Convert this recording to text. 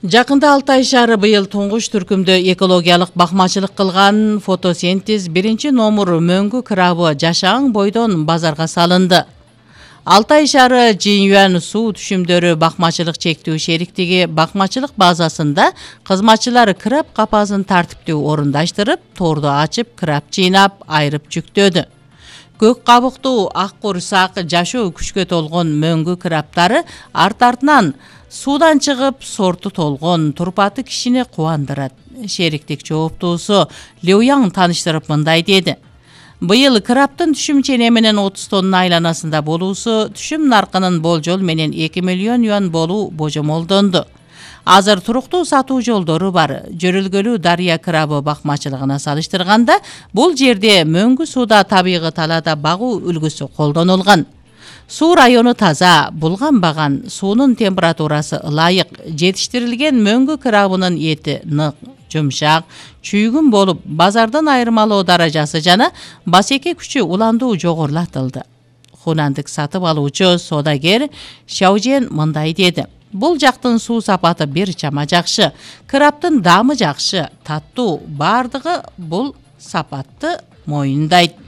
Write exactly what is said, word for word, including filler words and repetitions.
Жакында Алтай шаары быйыл туңгуч түркүмдө экологиялык бакмачылык кылган фотосинтез биринчи номер мөңгү крабы жашаң бойдон базарга салынды. Алтай шаары Жинюан суу түшүмдөрү бакмачылык чектүү шериктиги бакмачылык базасында кызматчылар краб капасын тартиптүү орундаштырып, торду ачып, краб жыйнап, айрып жүктөдү. Көк кабыктуу, ак курсак, жашоо күчкө толгон мөңгү крабтары арт-артынан суудан чыгып, сорту толгон, турпаты кишини кубандырат. Шериктик жооптуусу Леуяң тааныштырып мындай деди. Быйыл крабтын түшүм ченеминин отуз тонна айланасында болуусу түшүм наркынын болжол менен эки миллион юан болуу божомолдонду. Азыр туруктуу сатуу жолдору бар. Жөрөлгөлүү дарыя крабы бакмачылыгына салыштырганда, бул жерде мөңгү сууда табигый талаада багуу үлгүсү колдонулган. Суу району таза, булганбаган, суунун температурасы ылайык, жетиштирилген мөңгү крабынын эти нык, жумшак, чүйгүн болуп, базардан айырмалоо даражасы жана басеке күчү уландуу жогорулатылды. Хунандык сатып алуучу соодагер Шаожен мындай деди. Бул жактын суу сапаты бир чама жакшы, крабтын даамы жакшы, таттуу, бардыгы бул сапатты моюндайт.